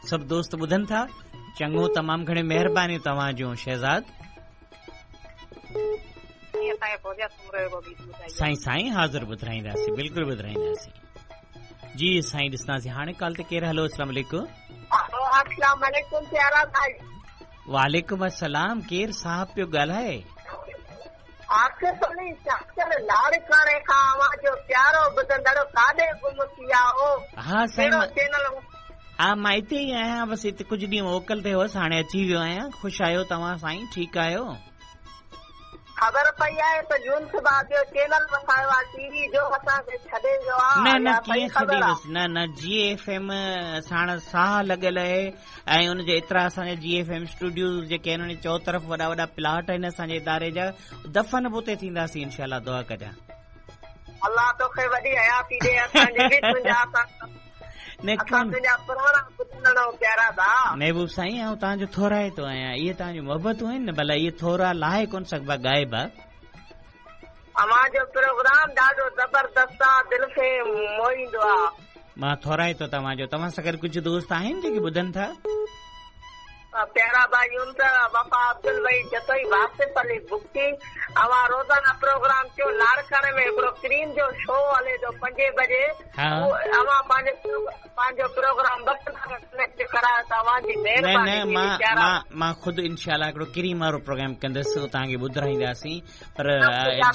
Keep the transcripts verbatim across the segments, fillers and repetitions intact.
सभु दोस्त ॿुधनि था। चङो, तमामु घणी महिरबानी तव्हां शहज़ाद। साईं साईं हाज़िर ॿुधाईंदासीं, बिल्कुलु ॿुधाईंदासीं जी साईं। ॾिसंदासीं हाणे कॉल ते केरु। हलो, अस्सलाम वालेकुम। अस्सलाम वालेकुम प्यारा भाई। वालेकुम अस्सलाम। केरु साहब पियो ॻाल्हाए? लाड़काणे खां अव्हां प्यारो ॿुधंदड़ काॾे गुम थी विया हो? हा साईं, हा मां हिते ई आहियाँ, बसि हिते कुझु ॾींहं मोकल ते हुअसि, हाणे अची वियो आहियाँ। ख़ुशि आहियो तव्हां साईं? ठीकु आहियो? ख़बर पई आहे त यूनुस भाउ ॿियो चैनल वसायो आहे टीवी जो, असांखे छॾे वियो आहे। न न, कीअं छॾे वियुसि? न न, जी एफ एम साण साह लॻल आहे ऐं उनजे एतिरा असांजा जी एफ एम स्टूडियो जेके आहिनि, उन चौतरफ़ वॾा वॾा प्लाट आहिनि असांजे इदारे जा, दफ़न बि उते थींदासीं इंशाअल्लाह, दुआ कजां। अलाह तोखे वॾी हयाती ॾे, असांजे बि तुंहिंजा महबूब साईं, आउं तव्हांजो थोराइतो आहियाँ। इहे तव्हांजूं मोहबतूं आहिनि न, भला इहे थोरा लाहे कोन सघिबा ॻाइबा। अव्हांजो प्रोग्राम ॾाढो ज़बरदस्त आहे, दिलि खे मोहींदो आहे। मां थोराइतो तव्हांजो। तव्हां सां गॾु कुझु दोस्त आहिनि जेके ॿुधनि था? प्यारा भाई यूनुस, वफ़ा अब्दुल भाई जतोई, वासिफ अली बुगटी। अव्हां रोज़ाना प्रोग्राम कयो लाड़काणे में हिकिड़ो क्रीम जो शो हले थो पंजे बजे, अव्हां पंहिंजो पंहिंजो प्रोग्राम ॿ कलाक कनेक्ट करायो त अव्हांजी महिरबानी। न न, मां मां ख़ुदि इंशाअल्लाह हिकिड़ो क्रीम वारो प्रोग्राम कंदुसि, तव्हांखे ॿुधाईंदासीं, पर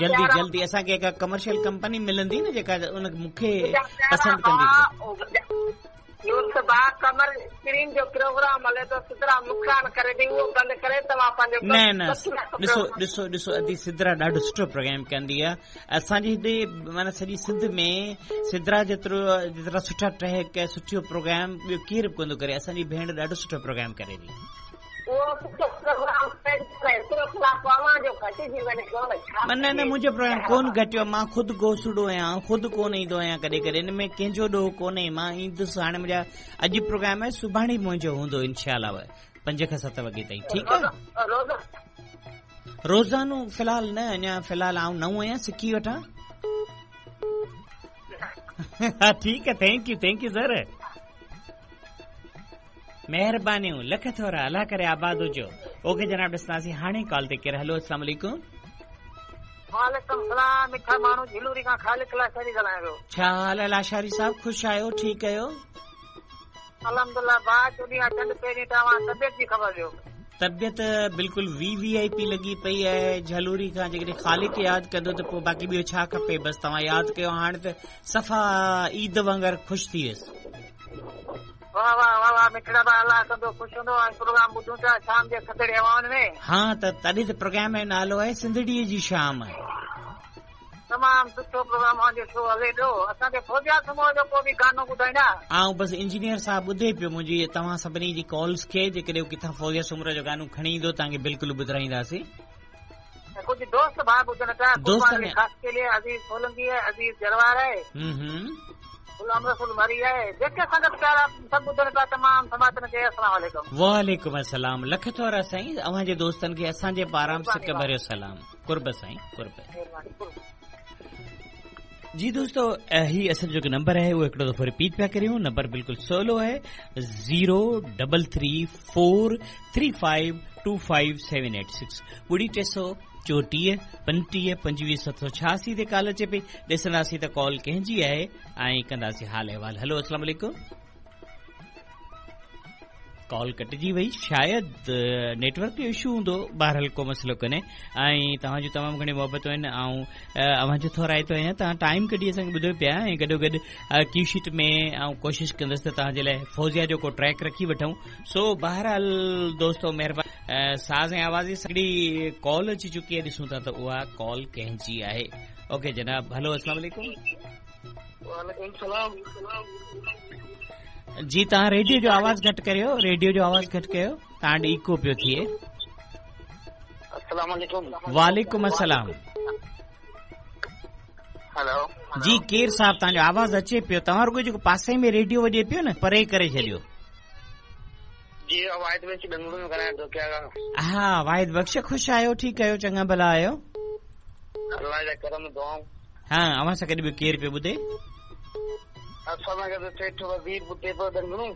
जल्दी जल्दी असांखे हिकु कमर्शियल कंपनी मिलंदी न जेका उन मूंखे पसंदि कंदी। यूनुस भाउ, कमर स्क्रीन जो प्रोग्राम हले थो, सिदरा नुक़सान करे थी, उहो बंदि करे तव्हां पंहिंजो। न न, ॾिसो ॾिसो ॾिसो अदी सिदरा ॾाढो सुठो प्रोग्राम कंदी आहे। असांजे हिते माना सॼी सिंध में सिदरा जेतिरो जेतिरा सुठा ट्रैक सुठो प्रोग्राम ॿियो केरु बि कोन थो करे। असांजी भेण ॾाढो सुठो प्रोग्राम करे थी। न न, मुंहिंजो प्रोग्राम कोन घटियो, मां ख़ुदि गोसड़ो आहियाँ, ख़ुदि कोन ईंदो आहियाँ कॾहिं कॾहिं, हिन में कंहिंजो ॾोह कोन्हे। मां ईंदुसि, हाणे मुंहिंजा अॼु प्रोग्राम आहे, सुभाणे मुंहिंजो हूंदो इंशाअल्लाह पंज खां सत वॻे ताईं, ठीकु आहे? रोज़ानो फ़िलहाल न, अञा फ़िलहाल आउं नओं आहियाँ, सिखी वठां। ठीकु आहे, thank you, thank you sir, महिरबानियूं, लख थोरा, अलाह करे आबाद हुजो। ओके जनाब, ॾिसंदासीं हाणे कॉल ते केरु। हलो, अस्सलाम वालेकुम। वालेकुम सलाम। मिठा माण्हू झिलूरी खां ख़ालिक लाशारी ॻाल्हायां पियो। छा हाल आहे लाशारी साहिब? ख़ुशि आहियो? ठीकु आहियो? अल्हम्दुलिल्लाह। भाउ चोॾहिं चंड पहिरीं तव्हां तबियत जी ख़बर ॾियो। तबियत बिल्कुलु वी वी I P लॻी पई आहे। झलूरी खां जेकॾहिं ख़ालिक यादि कंदो त पोइ बाक़ी ॿियो छा खपे? बसि तव्हां यादि कयो, हाणे त सफ़ा ईद वांगुरु ख़ुशि थी वियुसि। वाह वाह वाह वाह मिठड़ा भाउ, अलाह कंदो ख़ुशि हूंदो। ऐं प्रोग्राम ॿुधूं था शाम जे थधड़ी हवाउनि में। हा त तॾहिं त प्रोग्राम जो नालो आहे सिंधड़ीअ जी शाम। तमामु सुठो प्रोग्राम अव्हांजो शो हले पियो। असांखे फौजिया सुमो जो को बि गानो ॿुधाईंदा? आउं बसि इंजीनियर साहिबु ॿुधे पियो मुंहिंजी तव्हां सभिनी जी कॉल्स खे, जेकॾहिं किथां फौजिया सुमरो जो गानो खणी ईंदो तव्हांखे बिल्कुलु ॿुधाईंदासीं। कुझु दोस्त भाउ ॿुधनि पिया, दोस्त ख़ासि के लिए अज़ीज़ सोलंकी आहे, अज़ीज़ जरवार आहे, गुलाम रसूल मरी आहे, जेके संगत प्यारा सभु ॿुधनि पिया, तमामु समातनि खे अस्सलाम वालेकुम। वालेकुम अस्सलाम। लख थोरा साईं, अव्हांजे दोस्तनि खे असांजे पारां सिक भरियो सलाम। कुर्ब साईं, कुर्ब। जी दोस्तों, ही असांजो जेको नंबर आहे उहो हिकिड़ो दफ़ो रिपीट पिया करियूं। नंबर बिल्कुलु सवलो आहे, zero double three four three five two five seven eight six, ॿुड़ी टे सौ चोटीह पंटीह पंजवीह सत सौ छियासी ते कॉल अचे पई। ॾिसंदासीं त कॉल कंहिंजी आहे ऐं कंदासीं हाल अहिवाल। हलो, अस्सलाम वालेकुम। कॉल कटिजी वई, शायदि नेटवर्क जो इशू हूंदो, बहरहाल को मसइलो कोन्हे। ऐं तव्हांजूं तमामु घणियूं मोहबतूं आहिनि, ऐं अव्हांजो थोराइतो आहियाँ, तव्हां टाइम कढी असांखे ॿुधो पिया। ऐं गॾोगॾु क्यू शीट में आउं कोशिशि कंदुसि त तव्हांजे लाइ फौजिया जो को ट्रैक रखी वठूं। सो बहरहाल दोस्तो, महिरबानी। साज़ ऐं आवाज़ जी हिकिड़ी कॉल अची चुकी आहे, ॾिसूं था त उहा कॉल कंहिंजी आहे। ओके जनाब, हलो, अस्सलाम वालेकुम। वालेकुम सलाम। जी तव्हां रेडियो जो आवाज़ घटि करियो, रेडियो जो आवाज़ घटि कयो, तव्हां ॾे इको पियो थिए। अस्सलाम वालेकुम। वालेकुम अस्सलाम। हेलो जी, केरु साहिबु, तव्हांजो आवाज़ अचे पियो, तव्हां रुॻो जेको पासे में रेडियो वॼे पियो न, परे करे छॾियो। जी, वाहिद बख़्श बेंगलुरु में ॻाल्हायां थो। क्या हा वाहिद बख़्श, ख़ुशि आहियो? ठीकु आहियो? चङा भला आहियो? अलाह जा करम दुआऊं। हा, अव्हां सां गॾु ॿियो केरु पियो ॿुधे? असां सां गॾु सेठ वज़ीर ॿुधे पियो ॾंगणू।